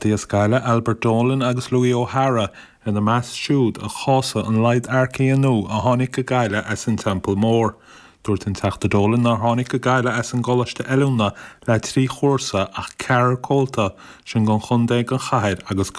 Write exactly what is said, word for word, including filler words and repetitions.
As Gaillimh Albert Dolan agus Louis O'Hara ina measc siúd a chásaigh an laghad earcaithe nua a tháinig go Gaillimh as an Teampall Mór. Dúirt an Teachta Dolan nár tháinig go Gaillimh as an gColáiste Oiliúna le trí chúrsa ach ceathrar comhalta sin don chontae don chathair agus go